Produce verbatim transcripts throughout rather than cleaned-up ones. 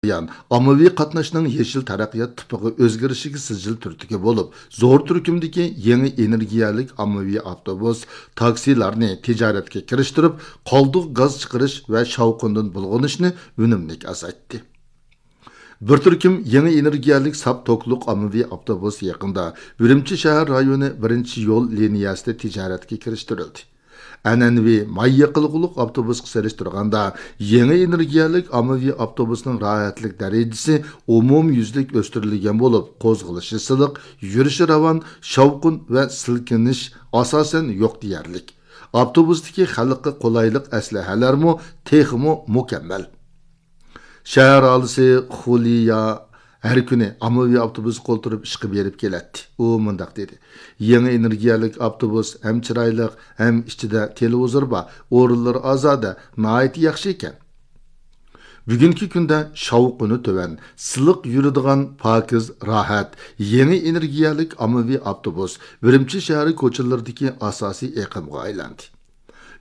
ئاممىۋى قاتناشنىڭ يېشىل تەرەققىيات تىپىغا ئۆزگىرىشىگە سىجىل تۈرتكە بولۇپ، زور تۈركۈمدىكى يېڭى ئېنېرگىيەلىك ئاممىۋى ئاپتوبۇس، تاكسىلارنى تىجارەتكە كىرىشتۈرۈپ، قالدۇق گاز چىقىرىش ۋە شاۋقۇندىن بۇلغىنىشنى ئۈنۈملۈك ئازايتتى. بىر تۈركۈم يېڭى ئېنېرگىيەلىك ساپ توكلۇق ئاممىۋى ئاپتوبۇس يېقىندا ئۈرۈمچى شەھەر رايونى بىرىنچى يول لىنىيەسىدە تىجارەتكە كىرىشتۈرۈلدى. ئەنئەنىۋى ماي يېقىلغۇلۇق ئاپتوبۇسقا سېلىشتۇرغاندا، يېڭى ئېنېرگىيەلىك ئاممىۋى ئاپتوبۇسنىڭ راھەتلىك دەرىجىسى ئومۇميۈزلۈك ئۆستۈرۈلگەن بولۇپ، قوزغىلىشى سىلىق، يۈرۈشى راۋان، شاۋقۇن ۋە سىلكىنىش ئاساسەن يوق دېيەرلىك. ئاپتوبۇستىكى خەلققە قولايلىق ئەسلىھەلەرمۇ تېخىمۇ مۇكەممەل. شەھەر ئاھالىسى خۇلىيا ھەر كۈنى ئاممىۋى ئاپتوبۇسقا ئولتۇرۇپ ئىشقا بېرىپ كېلەتتى. ئۇ مۇنداق دېدى: «يېڭى ئېنېرگىيەلىك ئاپتوبۇس ھەم چىرايلىق، ھەم ئىچىدە تېلېۋىزور بار، ئورۇنلىرى ئازادە، ناھايىتى ياخشى ئىكەن.» بۈگۈنكى كۈندە شاۋقۇنى تۆۋەن، سىلىق يۈرىدىغان پاكىز، راھەت، يېڭى ئېنېرگىيەلىك ئاممىۋى ئاپتوبۇس ئۈرۈمچى شەھىرى كوچىلىرىدىكى ئاساسىي ئېقىمغا ئايلاندى.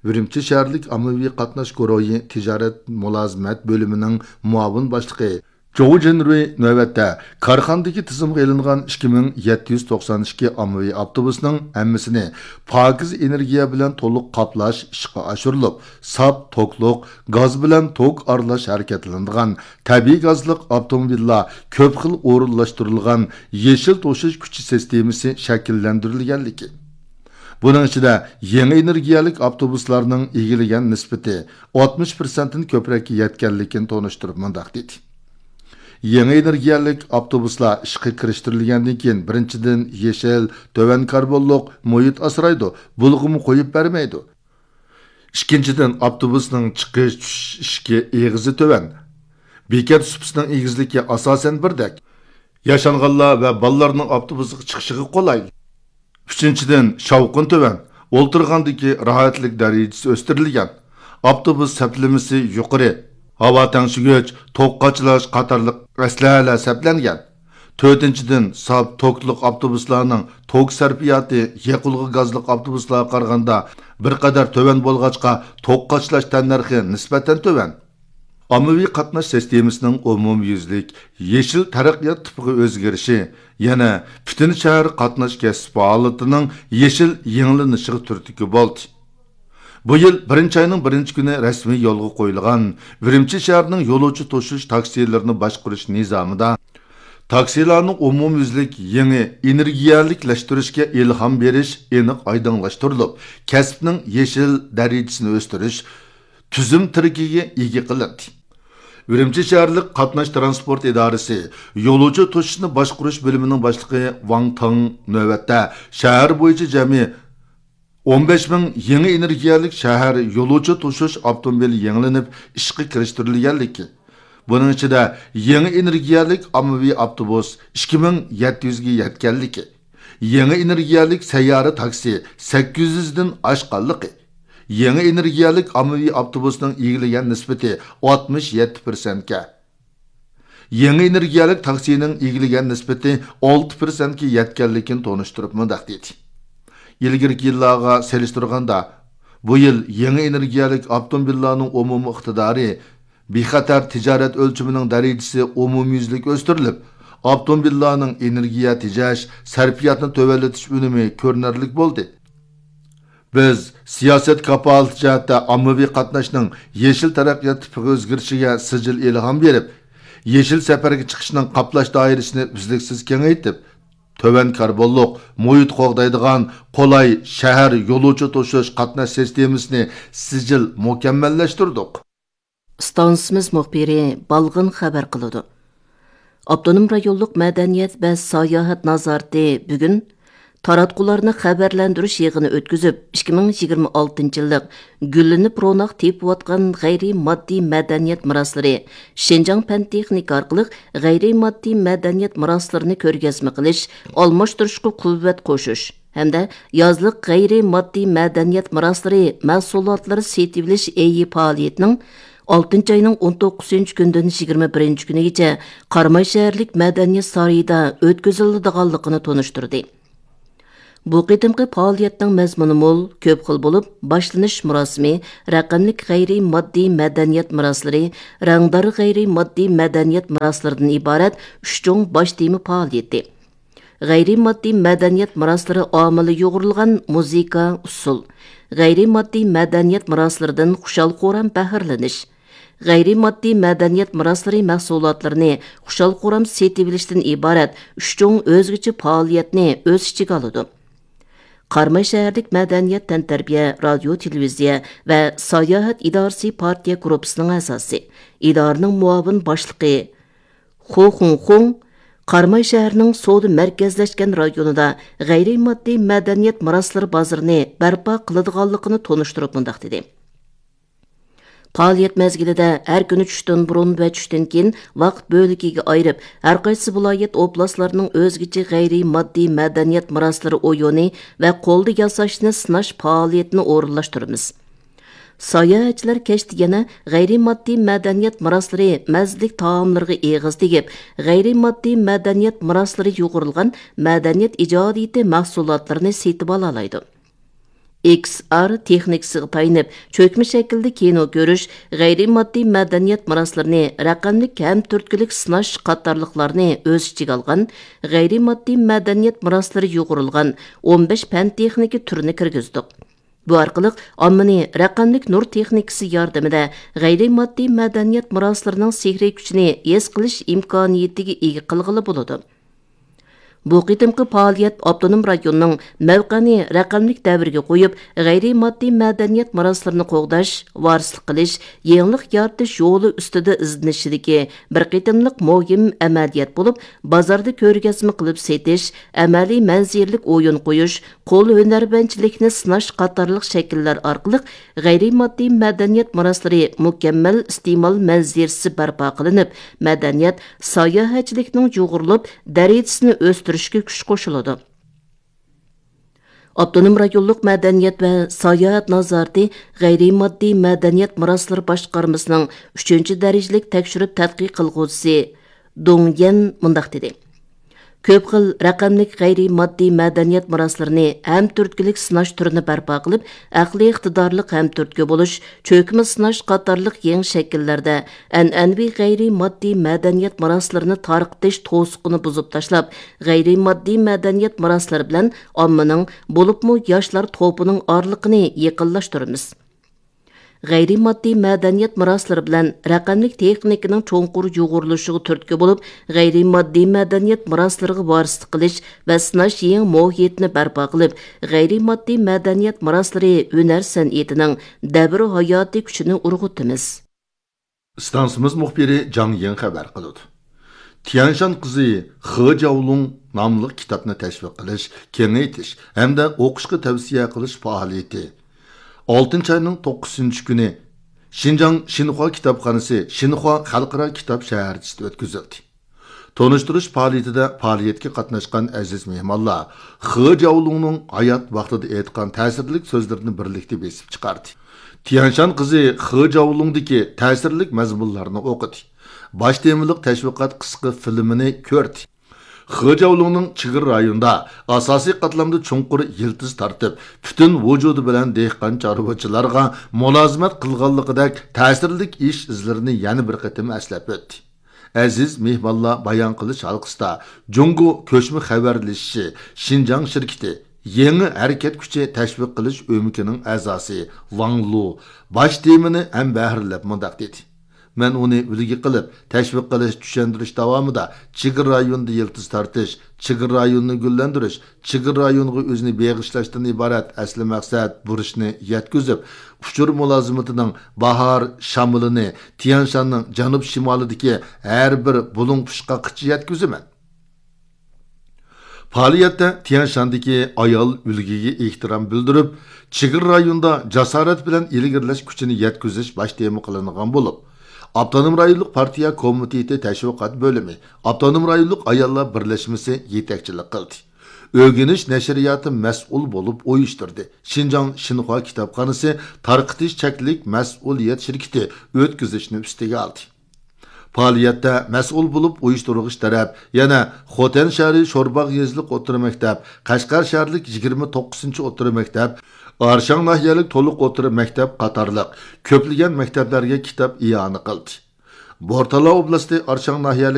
ئۈرۈمچى شەھەرلىك ئاممىۋى قاتناش گۇرۇھى تىجارەت مۇلازىمەت بۆلۈمىنىڭ مۇئاۋىن باشلىقى جوۋ جىنرۇي نۆۋەتتە كارخانىدىكى تىزىمغا ئېلىنغان ئىككى مىڭ يەتتە يۈز توقسان ئىككى ئاممىۋى ئاپتوبۇسنىڭ ھەممىسىنى پاكىز ئېنېرگىيە بىلەن تولۇق قاپلاش ئىشقا ئاشۇرۇلۇپ، ساپ توكلۇق گاز بىلەن توك ئارىلاش ھەرىكەتلىنىدىغان تەبىئىي گازلىق ئاپتوموبىللار كۆپ خىل ئورۇنلاشتۇرۇلغان يېشىل توشۇش كۈچى سىستېمىسى شەكىللەندۈرۈلگەنلىكى، بۇنىڭ ئىچىدە يېڭى ئېنېرگىيەلىك ئاپتوبۇسلارنىڭ ئىگىلىگەن نىسبىتى ئاتمىش پىرسەنتتىن كۆپرەككە يەتكەنلىكىنى تونۇشتۇرۇپ مۇنداق دېدى: «يېڭى ئېنېرگىيەلىك ئاپتوبۇسلار ئىشقا كىرىشتۈرۈلگەندىن كېيىن، بىرىنچىدىن، يېشىل، تۆۋەن كاربونلۇق مۇھىت ئاسرايدۇ، بۇلغىما قويۇپ بەرمەيدۇ. ئىككىنچىدىن، ئاپتوبۇسنىڭ چىقىش، چۈشۈش ئىشىكى ئېغىزى تۆۋەن، بېكەت سۇپىسىنىڭ ئېگىزلىكى ئاساسەن بىردەك، ياشانغانلار ۋە بالىلارنىڭ ئاپتوبۇسقا چىقىشىغا قولايلىق. ئۈچىنچىدىن، شاۋقۇن تۆۋەن، ئولتۇرغاندىكى راھەتلىك دەرىجىسى ئۆستۈرۈلگەن، ئاپتوبۇس سەپلىمىسى يۇقىرى، ھاۋا تەڭشىگۈچ، توك قاچىلاش قاتارلىق ئەسلىھەلەر سەپلەنگەن. تۆتىنچىدىن، ساپ توكلۇق ئاپتوبۇسلارنىڭ توك سەرپىياتى يېقىلغۇ گازلىق ئاپتوبۇسلارغا قارىغاندا بىر قەدەر تۆۋەن بولغاچقا، توك قاچىلاش تەننەرخى نىسبەتەن تۆۋەن. ئاممىۋى قاتناش سىستېمىسىنىڭ ئومۇميۈزلۈك يېشىل تەرەققىيات تىپىغا ئۆزگىرىشى يەنە پۈتۈن شەھەر قاتناش كەسىپ پائالىيىتىنىڭ يېشىل يېڭىلىنىشىغا تۈرتكە بولدى. بۇ يىل بىرىنچى ئاينىڭ بىرىنچى كۈنى رەسمىي يولغا قويۇلغان ئۈرۈمچى شەھىرىنىڭ يولۇچى توشۇش تاكسىلىرىنى باشقۇرۇش نىزامىدا تاكسىلارنىڭ ئومۇميۈزلۈك يېڭى ئېنېرگىيەلىكلەشتۈرۈشكە ئىلھام بېرىش ئېنىق ئايدىڭلاشتۇرۇلۇپ، كەسىپنىڭ يېشىل دەرىجىسىنى ئۆستۈرۈش تۈزۈم تىرىكىگە ئىگە قىلىندى. ئۈرۈمچى شەھەرلىك قاتناش ترانسپورت ئىدارىسى يولۇچى توشۇشنى باشقۇرۇش بۆلۈمىنىڭ باشلىقى ۋاڭ تېڭ نۆۋەتتە شەھەر بويىچە جەمئىي ئون بەش مىڭ يېڭى ئېنېرگىيەلىك شەھەر يولۇچى توشۇش ئاپتوموبىلى يېڭىلىنىپ ئىشقا كىرىشتۈرۈلگەنلىكى، بۇنىڭ ئىچىدە يېڭى ئېنېرگىيەلىك ئاممىۋى ئاپتوبۇس ئىككى مىڭ يەتتە يۈزگە يەتكەنلىكى، يېڭى ئېنېرگىيەلىك سەييارە تاكسى سەككىز يۈزدىن ئاشقانلىقى، يېڭى ئېنېرگىيەلىك ئاممىۋى ئاپتوبۇسنىڭ ئىگىلىگەن نىسبىتى ئاتمىش يەتتە پىرسەنتكە، يېڭى ئېنېرگىيەلىك تاكسىنىڭ ئىگىلىگەن نىسبىتى ئالتە پىرسەنتكە يەتكەنلىكىنى تونۇشتۇرۇپ مۇنداق دېدى: ئىلگىرىكى يىللارغا سېلىشتۇرغاندا، بۇ يىل يېڭى ئېنېرگىيەلىك ئاپتوموبىللارنىڭ ئومۇمىي ئىقتىدارى، بىخەتەر تىجارەت ئۆلچىمىنىڭ دەرىجىسى ئومۇميۈزلۈك ئۆستۈرۈلۈپ، ئاپتوموبىللارنىڭ ئېنېرگىيە تېجەش سەرپىياتىنى تۆۋەنلىتىش ئۈنۈمى كۆرۈنەرلىك بولدى. بىز سىياسەت كاپالىتى جەھەتتە ئاممىۋى قاتناشنىڭ يېشىل تەرەققىيات تىپىغا ئۆزگىرىشىگە سىجىل ئىلھام بېرىپ، يېشىل سەپەرگە چىقىشنىڭ قاپلاش دائىرىسىنى ئۈزلۈكسىز كېڭەيتىپ، تۆۋەن كاربونلۇق، مۇھىت قوغدايدىغان، قولاي شەھەر يولۇچى توشۇش قاتناش سىستېمىسىنى سىجىل مۇكەممەللەشتۈردۇق. ئىستانسىمىز مۇخبىرى بالغىن خەۋەر قىلىدۇ. ئاپتونوم رايونلۇق مەدەنىيەت ۋە ساياھەت نازارىتى بۈگۈن تاراتقۇلارنى خەۋەرلەندۈرۈش يىغىنى ئۆتكۈزۈپ، ئىككى مىڭ يىگىرمە ئالتىنچى يىللىق گۈللىنىپ روناق تېپىۋاتقان غەيرىي ماددىي مەدەنىيەت مىراسلىرى، شىنجاڭ پەن تېخنىكا ئارقىلىق غەيرىي ماددىي مەدەنىيەت مىراسلىرىنى كۆرگەزمە قىلىش، ئالماشتۇرۇشقا قۇۋۋەت قوشۇش ھەمدە يازلىق غەيرىي ماددىي مەدەنىيەت مىراسلىرى مەھسۇلاتلىرى سېتىۋېلىش ئېيى پائالىيىتىنىڭ ئالتىنچى ئاينىڭ ئون توققۇزىنچى كۈنىدىن يىگىرمە بىرىنچى كۈنىگىچە قاراماي شەھەرلىك مەدەنىيەت سارىيىدا ئۆتكۈزۈلىدىغانلىقىنى تونۇشتۇردى. بۇ قېتىمقى پائالىيەتنىڭ مەزمۇنى مول، كۆپ خىل بولۇپ، باشلىنىش مۇراسىمى رەقەملىك غەيرىي ماددىي مەدەنىيەت مىراسلىرى، رەڭدار غەيرىي ماددىي مەدەنىيەت مىراسلىرىدىن ئىبارەت ئۈچ چوڭ باش تېما پائالىيىتى. غەيرىي ماددىي مەدەنىيەت مىراسلىرى ئامىلى يۇغۇرۇلغان مۇزىكا، ئۇسسۇل، غەيرىي ماددىي مەدەنىيەت مىراسلىرىدىن خۇشال-خۇرام بەھرىلىنىش، غەيرىي ماددىي مەدەنىيەت مىراسلىرى مەھسۇلاتلىرىنى خۇشال-خۇرام سېتىۋېلىشتىن ئىبارەت ئۈچ چوڭ ئۆزگىچە پائالىيەتنى ئۆز ئىچىگە ئالىدۇ. قاراماي شەھەرلىك مەدەنىيەت، تەنتەربىيە، رادىيو، تېلېۋىزىيە ۋە ساياھەت ئىدارىسى پارتىيە گۇرۇپپىسىنىڭ ئەزاسى، ئىدارىنىڭ مۇئاۋىن باشلىقى خو خۇڭخۇڭ قاراماي شەھىرىنىڭ سودا مەركەزلەشكەن رايونىدا غەيرىي ماددىي مەدەنىيەت مىراسلىرى بازىرىنى بەرپا قىلىدىغانلىقىنى تونۇشتۇرۇپ مۇنداق دېدى: پائالىيەت مەزگىلىدە ھەر كۈنى چۈشتىن بۇرۇن ۋە چۈشتىن كېيىن ۋاقىت بۆلىكىگە ئايرىپ، ھەرقايسى ۋىلايەت، ئوبلاستلارنىڭ ئۆزگىچە غەيرىي ماددىي مەدەنىيەت مىراسلىرى ئويۇنى ۋە قولدا ياساشنى سىناش پائالىيىتىنى ئورۇنلاشتۇرىمىز. ساياھەتچىلەر كەچتە يەنە غەيرىي ماددىي مەدەنىيەت مىراسلىرى مەززىلىك تائاملىرىغا ئېغىز تېگىپ، غەيرىي ماددىي مەدەنىيەت مىراسلىرى يۇغۇرۇلغان مەدەنىيەت ئىجادىيىتى مەھسۇلاتلىرىنى سېتىۋالالايدۇ. ئېكس ئار تېخنىكىسىغا تايىنىپ، چۆكمە شەكىلدە كىنو كۆرۈش، غەيرىي ماددىي مەدەنىيەت مىراسلىرىنى رەقەملىك ھەم تۈرتكىلىك سىناش قاتارلىقلارنى ئۆز ئىچىگە ئالغان غەيرىي ماددىي مەدەنىيەت مىراسلىرى يۇغۇرۇلغان ئون بەش پەن تېخنىكا تۈرىنى كىرگۈزدۇق. بۇ ئارقىلىق ئاممىنى رەقەملىك نۇر تېخنىكىسى ياردىمىدە غەيرىي ماددىي مەدەنىيەت مىراسلىرىنىڭ سېھرىي كۈچىنى ھېس قىلىش ئىمكانىيىتىگە ئىگە قىلغىلى بولىدۇ. بۇ قېتىمقى پائالىيەت ئاپتونوم رايوننىڭ مەۋقەنى رەقەملىك دەۋرگە قويۇپ، غەيرىي ماددىي مەدەنىيەت مىراسلىرىنى قوغداش، ۋارىسلىق قىلىش، يېڭىلىق يارىتىش يولى ئۈستىدە ئىزدىنىشىدىكى بىر قېتىملىق مۇھىم ئەمەلىيەت بولۇپ، بازاردا كۆرگەزمە قىلىپ سېتىش، ئەمەلىي مەنزىرىلىك ئويۇن قويۇش، قول ھۈنەرۋەنچىلىكنى سىناش قاتارلىق شەكىللەر ئارقىلىق غەيرىي ماددىي مەدەنىيەت مىراسلىرى مۇكەممەل ئىستېمال مەنزىرىسى بەرپا قىلىنىپ، مەدەنىيەت، ساياھەتچىلىكنىڭ يۇغۇرۇلۇپ، دەرىجىسىنى ئۆستۈرۈشكە كۈچ قوشۇلىدۇ. ئاپتونوم رايونلۇق مەدەنىيەت ۋە ساياھەت نازارىتى غەيرىي ماددىي مەدەنىيەت مىراسلىرى باشقارمىسىنىڭ ئۈچىنچى دەرىجىلىك تەكشۈرۈپ تەتقىق قىلغۇچىسى دۇڭ يەن مۇنداق دېدى: كۆپ خىل رەقەملىك غەيرىي ماددىي مەدەنىيەت مىراسلىرىنى ھەم تۈرتكىلىك سىناش تۈرىنى بەرپا قىلىپ، ئەقلىي ئىقتىدارلىق ھەم تۈرتكە بولۇش، چۆكمە سىناش قاتارلىق يېڭى شەكىللەردە ئەنئەنىۋى غەيرىي ماددىي مەدەنىيەت مىراسلىرىنى تارقىتىش توسۇقىنى بۇزۇپ تاشلاپ، غەيرىي ماددىي مەدەنىيەت مىراسلىرى بىلەن ئاممىنىڭ، بولۇپمۇ ياشلار توپىنىڭ ئارىلىقىنى يېقىنلاشتۇرىمىز. غەيرىي ماددىي مەدەنىيەت مىراسلىرى بىلەن رەقەملىك تېخنىكىنىڭ چوڭقۇر يۇغۇرۇلۇشىغا تۈرتكە بولۇپ، غەيرىي ماددىي مەدەنىيەت مىراسلىرىغا ۋارىسلىق قىلىش ۋە سىناش يېڭى مۇھىتىنى بەرپا قىلىپ، غەيرىي ماددىي مەدەنىيەت مىراسلىرى ھۈنەر سەنئىتىنىڭ دەۋر ھاياتىي كۈچىنى ئۇرغۇتىمىز. ئىستانسىمىز مۇخبىرى جاڭ يىڭ خەۋەر قىلىدۇ. تيەنشان قىزى خې جاۋلۇڭ ناملىق كىتابنى تەشۋىق قىلىش، كېڭەيتىش ھەمدە ئوقۇشقا تەۋسىيە قىلىش پائالىيىتى ئالتىنچى ئاينىڭ توققۇزىنچى كۈنى شىنجاڭ شىنخۇا كىتابخانىسى شىنخۇا خەلقئارا كىتاب شەھەرچىسىدە ئۆتكۈزۈلدى. تونۇشتۇرۇش پائالىيىتىدە پائالىيەتكە قاتناشقان ئەزىز مېھمانلار خې جاۋلۇڭنىڭ ھايات ۋاقتىدا ئېيتقان تەسىرلىك سۆزلىرىنى بىرلىكتە بېسىپ چىقاردى. تيەنشان قىزى خې جاۋلۇڭدىكى تەسىرلىك مەزمۇنلارنى ئوقۇدى. باش تېمىلىق تەشۋىقات قىسقا فىلىمىنى كۆردى. خې جاۋلۇڭنىڭ چېگرا رايونىدا ئاساسىي قاتلامدا چوڭقۇر يىلتىز تارتىپ، پۈتۈن ۋۇجۇدى بىلەن دېھقان چارۋىچىلارغا مۇلازىمەت قىلغانلىقىدەك تەسىرلىك ئىش ئىزلىرىنى يەنە بىر قېتىم ئەسلەپ ئۆتتى. ئەزىز مېھمانلار بايان قىلىش ھالقىسىدا جۇڭگو كۆچمە خەۋەرلىشىشى شىنجاڭ شىركىتى يېڭى ھەرىكەت كۈچى تەشۋىق قىلىش ئۆمىكىنىڭ ئەزاسى ۋاڭ لۇ باش تېمىنى ھەمبەھىرلەپ مۇنداق دېدى: مەن ئۇنى ئۈلگە قىلىپ، تەشۋىق قىلىش، چۈشەندۈرۈش داۋامىدا چېگرا رايونىدا يىلتىز تارتىش، چېگرا رايونىنى گۈللەندۈرۈش، چېگرا رايونىغا ئۆزىنى بېغىشلاشتىن ئىبارەت ئەسلى مەقسەت بۇرچنى يەتكۈزۈپ، ئۇچۇر مۇلازىمىتىنىڭ باھار شامىلىنى تيەنشاننىڭ جەنۇب شىمالىدىكى ھەر بىر بۇلۇڭ پۇچقاققىچە يەتكۈزىمەن. پائالىيەتتە تيەنشاندىكى ئايال ئۈلگىگە ئېھتىرام بىلدۈرۈپ، چېگرا رايونىدا جاسارەت بىلەن ئىلگىرىلەش كۈچىنى يەتكۈزۈش باش تېما قىلىنغان بولۇپ، ئاپتونوم رايونلۇق پارتىيە كومىتېتى تەشۋىقات بۆلۈمى، ئاپتونوم رايونلۇق ئاياللار بىرلەشمىسى يېتەكچىلىك قىلدى. ئۆگىنىش نەشرىياتى مەسئۇل بولۇپ ئۇيۇشتۇردى. شىنجاڭ شىنخۇا كىتابخانىسى تارقىتىش چەكلىك مەسئۇلىيەت شىركىتى ئۆتكۈزۈشنى ئۈستىگە ئالدى. پائالىيەتتە مەسئۇل بولۇپ ئۇيۇشتۇرغۇچ تەرەپ يەنە خوتەن شەھىرى شورباغ يېزىلىق ئوتتۇرا مەكتەپ، قەشقەر شەھەرلىك يىگىرمە توققۇزىنچى ئوتتۇرا مەكتەپ، ئارشاڭ ناھىيەلىك تولۇق ئوتتۇرا مەكتەپ قاتارلىق كۆپلىگەن مەكتەپلەرگە كىتاب ئىئانە قىلدى. بورتالا ئوبلاستى ئارشاڭ ناھىيەلىك